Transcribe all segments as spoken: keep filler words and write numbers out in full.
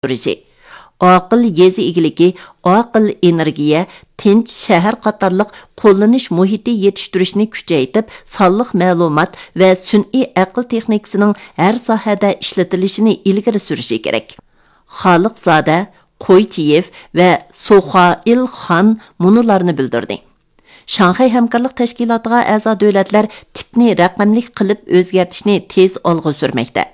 ئارتتۇرۇشى، ئاقىل يېزا ئىگىلىكى، ئاقىل ئېنېرگىيە، تىنچ شەھەر قاتارلىق قوللىنىش مۇھىتى يېتىشتۈرۈشنى كۈچەيتىپ، سانلىق مەلۇمات ۋە سۈنئىي ئەقىل تېخنىكىسىنىڭ ھەر ساھەدە ئىشلىتىلىشىنى ئىلگىرى سۈرۈشى كېرەك. خالىقزادە، قويچىيېف ۋە سوخائىل خان مۇنۇلارنى بىلدۈردى. شاڭخەي ھەمكارلىق تەشكىلاتىغا ئەزا دۆلەتلەر تىپنى رەقەملىك قىلىپ ئۆزگەرتىشنى تېز ئالغا سۈرمەكتە.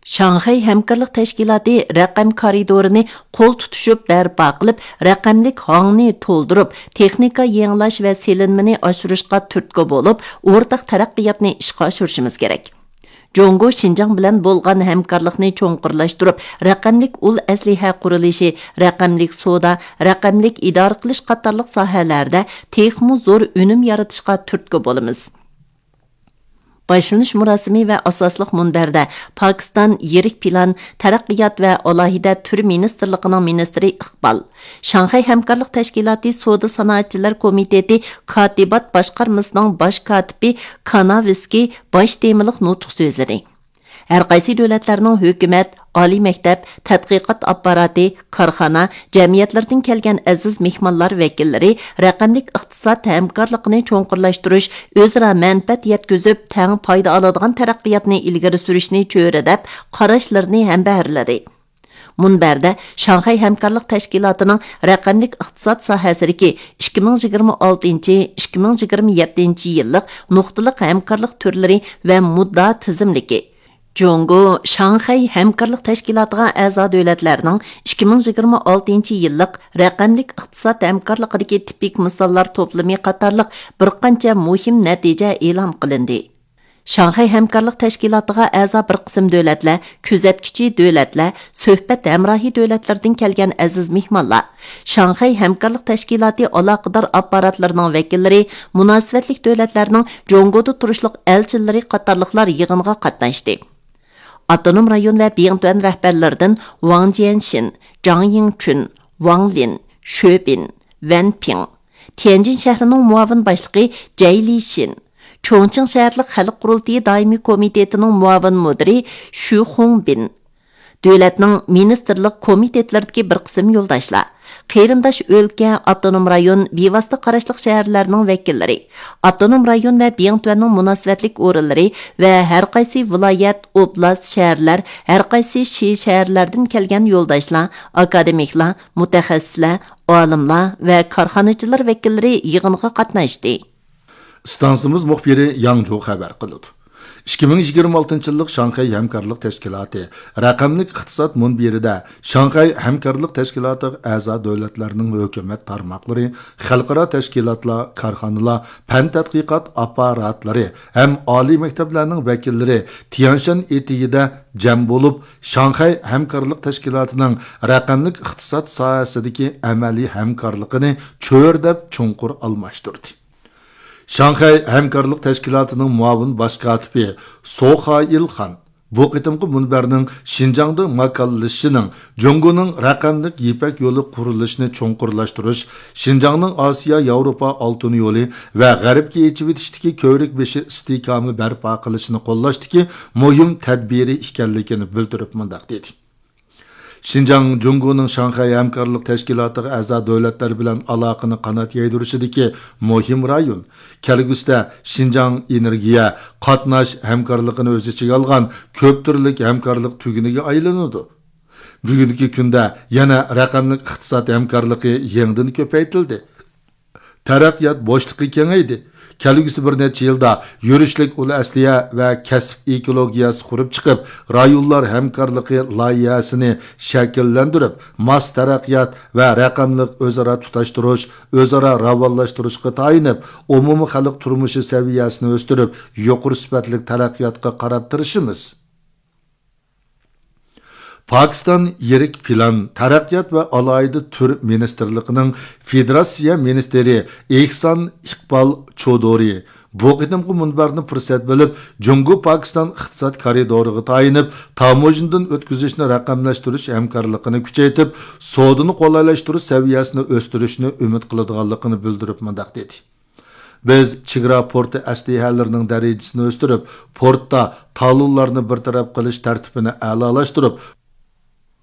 شاڭخەي ھەمكارلىق تەشكىلاتى رەقەم كارىدورىنى قول تۇتۇشۇپ بەرپا قىلىپ، رەقەملىك ھاڭنى تولدۇرۇپ، تېخنىكا يېڭىلاش ۋە سېلىنمىنى ئاشۇرۇشقا تۈرتكە بولۇپ، ئورتاق تەرەققىياتنى ئىشقا ئاشۇرۇشىمىز كېرەك. جۇڭگو شىنجاڭ بىلەن بولغان ھەمكارلىقنى چوڭقۇرلاشتۇرۇپ، رەقەملىك ئۇل ئەسلىھە قۇرۇلۇشى، رەقەملىك سودا، رەقەملىك ئىدارە قىلىش قاتارلىق ساھەلەردە تېخىمۇ زور ئۈنۈم يارىتىشقا تۈرتكە بولىمىز. باشلىنىش مۇراسىمى ۋە ئاساسلىق مۇنبەردە پاكىستان يىرىك پىلان، تەرەققىيات ۋە ئالاھىدە تۈر مىنىستىرلىقىنىڭ مىنىستىرى ئىقبال، شاڭخەي ھەمكارلىق تەشكىلاتى سودا سانائەتچىلەر كومىتېتى كاتىبات باشقارمىسىنىڭ باش كاتىپى كاناۋسكىي باش تېمىلىق نۇتۇق سۆزلىدى. ھەرقايسى دۆلەتلەرنىڭ ھۆكۈمەت، ئالىي مەكتەپ، تەتقىقات ئاپپاراتى، كارخانا، جەمئىيەتلىرىدىن كەلگەن ئەزىز مېھمانلار ۋەكىللىرى رەقەملىك ئىقتىساد ھەمكارلىقىنى چوڭقۇرلاشتۇرۇش، ئۆزئارا مەنپەئەت يەتكۈزۈپ، تەڭ پايدا ئالىدىغان تەرەققىياتنى ئىلگىرى سۈرۈشنى چۆرىدەپ، قاراشلىرىنى ھەمبەھىرلىدى. مۇنبەردە شاڭخەي ھەمكارلىق تەشكىلاتىنىڭ رەقەملىك ئىقتىساد ساھەسىدىكى ئىككى مىڭ يىگىرمە ئالتىنچى، ئىككى مىڭ يىگىرمە يەتتىنچى يىللىق نۇقتىلىق ھەمكارلىق تۈرلىرى ۋە مۇددىئا تىزىملىكى، جۇڭگو شاڭخەي ھەمكارلىق تەشكىلاتىغا ئەزا دۆلەتلەرنىڭ ئىككى مىڭ يىگىرمە ئالتىنچى يىللىق رەقەملىك ئىقتىساد ھەمكارلىقىدىكى تىپىك مىساللار توپلىمى قاتارلىق بىر قانچە مۇھىم نەتىجە ئېلان قىلىندى. شاڭخەي ھەمكارلىق تەشكىلاتىغا ئەزا بىر قىسىم دۆلەتلەر، كۆزەتكۈچى دۆلەتلەر، سۆھبەت ھەمراھى دۆلەتلىرىدىن كەلگەن ئەزىز مېھمانلار، شاڭخەي ھەمكارلىق تەشكىلاتى ئالاقىدار ئاپپاراتلىرىنىڭ ۋەكىللىرى، مۇناسىۋەتلىك دۆلەتلەرنىڭ جۇڭگودا تۇرۇشلۇق ئەلچىلىرى قاتارلىقلار يىغىنغا قاتناشتى. ئاپتونوم رايون ۋە بىڭتۈەن رەھبەرلىرىدىن ۋاڭ جيەنشىن، جاڭ يىڭچۈن، ۋاڭ لىن، شۆ بىن، ۋەن پىڭ، تيەنجىن شەھىرىنىڭ مۇئاۋىن باشلىقى جەي لىشىن، چۇڭچىڭ شەھەرلىك خەلق قۇرۇلتىيى دائىمىي كومىتېتىنىڭ مۇئاۋىن مۇدىرى شۈ خۇڭبىن، دۆلەتنىڭ مىنىستىرلىق كومىتېتلىرىدىكى بىر قىسىم يولداشلار، قېرىنداش ئۆلكە، ئاپتونوم رايون، بىۋاسىتە قاراشلىق شەھەرلەرنىڭ ۋەكىللىرى، ئاپتونوم رايون ۋە بىڭتۈەننىڭ مۇناسىۋەتلىك ئورۇنلىرى ۋە ھەرقايسى ۋىلايەت، ئوبلاست، شەھەرلەر، ھەرقايسى شى شەھەرلەردىن كەلگەن يولداشلار، ئاكادېمىكلار، مۇتەخەسسىسلەر، ئالىملار ۋە كارخانىچىلار ۋەكىللىرى يىغىنغا قاتناشتى. ئىستانسىمىز مۇخبىرى ياڭجۇ خەۋەر قىلىدۇ. ئىككى مىڭ يىگىرمە ئالتىنچى يىللىق شاڭخەي ھەمكارلىق تەشكىلاتى رەقەملىك ئىقتىساد مۇنبىرىدە شاڭخەي ھەمكارلىق تەشكىلاتىغا ئەزا دۆلەتلەرنىڭ ھۆكۈمەت تارماقلىرى، خەلقئارا تەشكىلاتلار، كارخانىلار، پەن تەتقىقات ئاپپاراتلىرى ھەم ئالىي مەكتەپلەرنىڭ ۋەكىللىرى تيەنشان ئېتىكىدە جەم بولۇپ، شاڭخەي ھەمكارلىق تەشكىلاتىنىڭ رەقەملىك ئىقتىساد ساھەسىدىكى ئەمەلىي ھەمكارلىقىنى چۆرىدەپ چوڭقۇر ئالماشتۇردى. شاڭخەي ھەمكارلىق تەشكىلاتىنىڭ مۇئاۋىن باش كاتىپى سو خائىل خان بۇ قېتىمقى مۇنبەرنىڭ شىنجاڭدا ماكانلىشىشىنىڭ جۇڭگونىڭ رەقەملىك يىپەك يولى قۇرۇلۇشىنى چوڭقۇرلاشتۇرۇش، شىنجاڭنىڭ ئاسىيا ياۋروپا ئالتۇن يولى ۋە غەربكە ئېچىۋېتىشتىكى كۆۋرۈك بېشى ئىستىھكامى بەرپا قىلىشنى قوللاشتىكى مۇھىم تەدبىرى ئىكەنلىكىنى بىلدۈرۈپ مۇنداق دېدى. شىنجاڭ جۇڭگونىڭ شاڭخەي ھەمكارلىق تەشكىلاتىغا ئەزا دۆلەتلەر بىلەن ئالاقىنى قانات يايدۇرۇشىدىكى مۇھىم رايون. كەلگۈسىدە شىنجاڭ ئېنېرگىيە، قاتناش ھەمكارلىقىنى ئۆز ئىچىگە ئالغان كۆپ تۈرلۈك ھەمكارلىق تۈگۈنىگە ئايلىنىدۇ. بۈگۈنكى كۈندە يەنە رەقەملىك ئىقتىساد ھەمكارلىقى يېڭىدىن كۆپەيتىلدى. تەرەققىيات بوشلۇقى كېڭەيدى. كەلگۈسى بىر نەچچە يىلدا يۈرۈشلۈك ئۇل ئەسلىھە ۋە كەسىپ ئېكولوگىيەسى قۇرۇپ چىقىپ، رايونلار ھەمكارلىقى لايىھەسىنى شەكىللەندۈرۈپ، ماس تەرەققىيات ۋە رەقەملىك ئۆزئارا تۇتاشتۇرۇش، ئۆزئارا راۋانلاشتۇرۇشقا تايىنىپ، ئومۇمىي خەلق تۇرمۇشى سەۋىيەسىنى ئۆستۈرۈپ، يۇقىرى سۈپەتلىك تەرەققىياتقا قاراپ تىرىشىمىز. پاكىستان يىرىك پىلان، تەرەققىيات ۋە ئالاھىدە تۈر مىنىستىرلىقىنىڭ فېدېراتسىيە مىنىستىرى ئېھسان ئىقبال چودۇرى بۇ قېتىمقى مۇنبەرنى پۇرسەت بىلىپ، جۇڭگو پاكىستان ئىقتىساد كارىدورىغا تايىنىپ، تاموژنىدىن ئۆتكۈزۈشنى رەقەملەشتۈرۈش ھەمكارلىقىنى كۈچەيتىپ، سودىنى قولايلاشتۇرۇش سەۋىيەسىنى ئۆستۈرۈشنى ئۈمىد قىلىدىغانلىقىنى بىلدۈرۈپ مۇنداق دېدى. بىز چېگرا پورتى ئەسلىھەلىرىنىڭ دەرىجىسىنى ئۆستۈرۈپ، پورتتا تالونلارنى بىر تەرەپ قىلىش تەرتىپىنى ئەلالاشتۇرۇپ،